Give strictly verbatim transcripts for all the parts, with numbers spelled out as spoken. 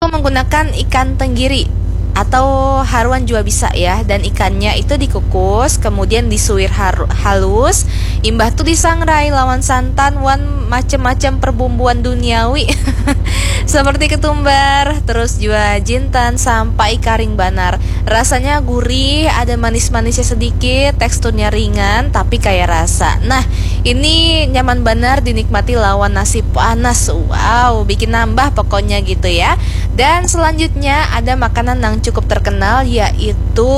menggunakan ikan tenggiri atau haruan juga bisa ya, dan ikannya itu dikukus, kemudian disuir haru- halus, imbah tu disangrai lawan santan wan macam-macam perbumbuan duniawi seperti ketumbar, terus juga jintan sampai karing banar. Rasanya gurih, ada manis-manisnya sedikit, teksturnya ringan tapi kaya rasa. Nah, ini nyaman banar dinikmati lawan nasi panas. Wow, bikin nambah pokoknya gitu ya. Dan selanjutnya ada makanan yang cukup terkenal, yaitu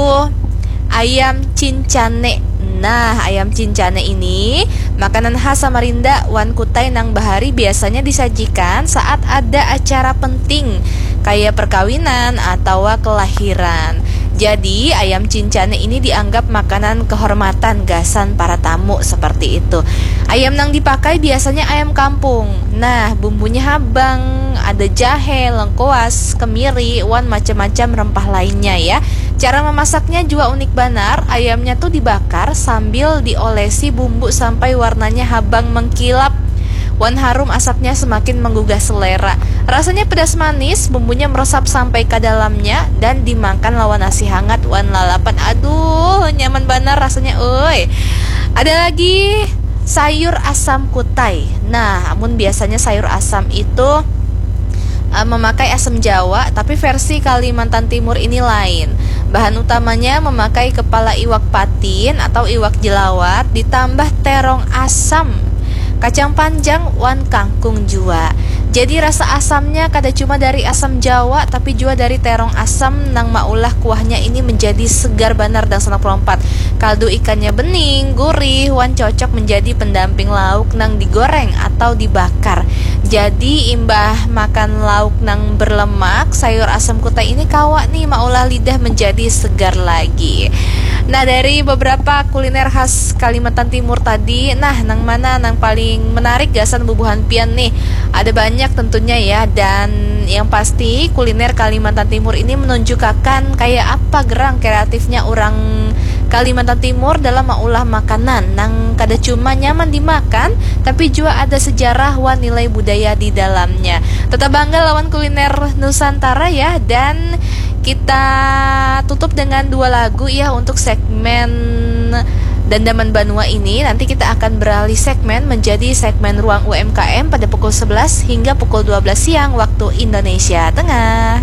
ayam cincane. Nah, ayam cincane ini makanan khas Samarinda wan Kutai nang bahari biasanya disajikan saat ada acara penting kaya perkawinan atawa kelahiran. Jadi, ayam cincane ini dianggap makanan kehormatan gasan para tamu seperti itu. Ayam nang dipakai biasanya ayam kampung. Nah, bumbunya habang, ada jahe, lengkuas, kemiri, wan macam-macam rempah lainnya ya. Cara memasaknya juga unik banar, ayamnya tuh dibakar sambil diolesi bumbu sampai warnanya habang mengkilap. Wan harum asapnya semakin menggugah selera. Rasanya pedas manis, bumbunya meresap sampai ke dalamnya dan dimakan lawan nasi hangat wan lalapan. Aduh, nyaman banar rasanya, oi. Ada lagi sayur asam kutai. Nah, amun biasanya sayur asam itu uh, memakai asam jawa, tapi versi Kalimantan Timur ini lain. Bahan utamanya memakai kepala iwak patin atau iwak jelawat ditambah terong asam, kacang panjang wan kangkung jua. Jadi rasa asamnya kada cuma dari asam jawa tapi juga dari terong asam nang maulah kuahnya ini menjadi segar banar dan sangat melompat. Kaldu ikannya bening, gurih, wan cocok menjadi pendamping lauk nang digoreng atau dibakar. Jadi imbah makan lauk nang berlemak, sayur asam kutai ini kawa nih maulah lidah menjadi segar lagi. Nah, dari beberapa kuliner khas Kalimantan Timur tadi, nah, nang mana nang paling menarik gasan bubuhan pian nih? Ada banyak tentunya ya, dan yang pasti kuliner Kalimantan Timur ini menunjukkan kayak apa gerang kreatifnya orang Kalimantan Timur dalam maulah makanan nang kada cuma nyaman dimakan, tapi juga ada sejarah wan nilai budaya di dalamnya. Tetap bangga lawan kuliner Nusantara ya, dan kita tutup dengan dua lagu ya untuk segmen Dandaman Banua ini. Nanti kita akan beralih segmen menjadi segmen Ruang U M K M pada pukul sebelas hingga pukul dua belas siang waktu Indonesia Tengah.